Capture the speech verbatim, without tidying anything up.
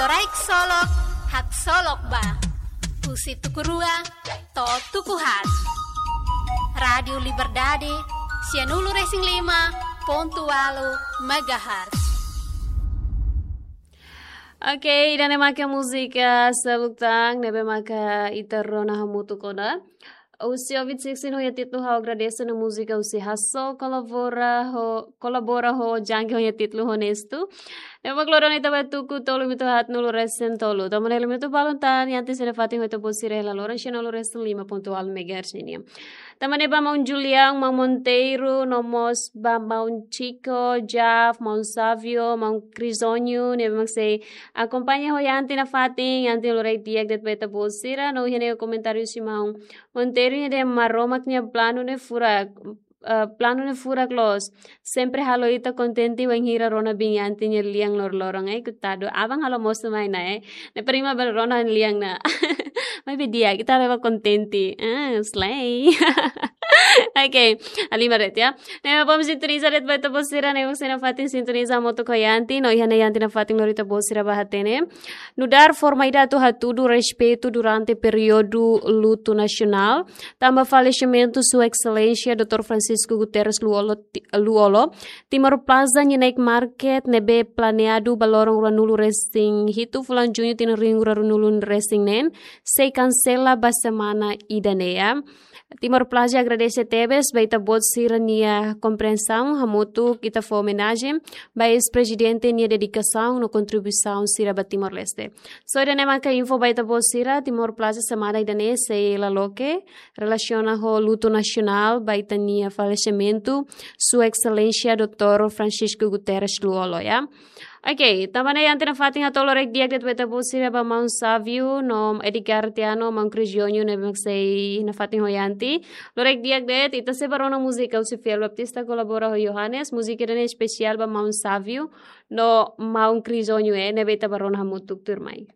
Loraik Solok, Haksolok Ba. Husi tuku rua to'o tuku haat. Rádiu Liberdade, sianulu-resin-lima pontu ualu megahertz. Oke, ida-ne'e maka múzika seluk tan, ne'ebé maka ita rona hamutuk ona. Husi Ovid Sixteen ho nia títulu Ha'u Agradese no múzika husi Hasso kolabora ho, kolabora ho Jangge ho nia títulu Honestu. Ne'ebé mak loron ita ba tuku tolu minutu haat nulu resin tolu. Tanba ne'e lima minutu balun tan, Yanti sira-nia fatin ho ita-boot sira hela loron sianulu-resin-lima pontu ualu megahertz nian. Tanba ne'e ba maun Julião, maun Monteiro, no mós ba maun Chico, Jaf, maun Savio, maun Crisónio, ne'ebé mak sei akompaña ho Yanti nafatin, Yanti loraik di'ak de'it ba ita-boot sira, no iha ne'e komentáriu husi maun Monteiro nia dehan Maromak nia planu ne'e furak, eh, planu ne'e furak loos. Sempre halo ita kontente wainhira rona biin Yanti nia lian loroloron, eh, kutadu. Aban halo mosu mai ona, eh. Ne'e prima bele rona lian ona. Maibé di'ak, ita la'o kontente. Ah, slay. Oke, halimar de'it ya. Ne'e mak sintoniza de'it ba ita-boot sira, ne'ebé sira nafatin sintoniza hamutuk ho Yanti, no iha ne'e Yanti nafatin lori ita-boot sira ba hatene. Nu'udar formalidade atu hatudu respeitu durante períodu lutu nasionál, tanba falesimentu Sua Exelénsia doutór Francisco Guterres Lú-Olo, Ti-, Lú-Olo, Timor Plaza nia night market ne'ebé planeadu ba loron ruanulu-resin-hitu fulan Juñu tinan rihun rua ruanulu-resin-neen, sei kansela ba semana ida-ne'e. Timor Plaza agradese tebes ba ita-boot sira-nia kompriensaun, hamutuk ita fó omenajen ba eis-prezidente nia dedikasaun no kontribuisaun sira ba Timor-Leste. So ida-ne'e maka info ba ita-boot sira, Timor Plaza semana ida-ne'e sei la loke, relasiona ho lutu nasionál ba ita-nia falesimentu, Sua Exelénsia doutór Francisco Guterres Lú-Olo, ya. Oke, tanba ne'e Yanti nafatin hato'o loraik di'ak de'it ba ita-boot sira ba maun Savio, no Edgar Tiano, maun Crisónio, ne'ebé mak sei nafatin ho Yanti. Loraik di'ak de'it, ita sei ba rona múzika husi Fiel Baptista kolabora ho Johannes, múzika ida-ne'e espesiál ba maun Savio, no maun Crisónio, eh, ne'ebé ita ba rona hamutuk tuirmai.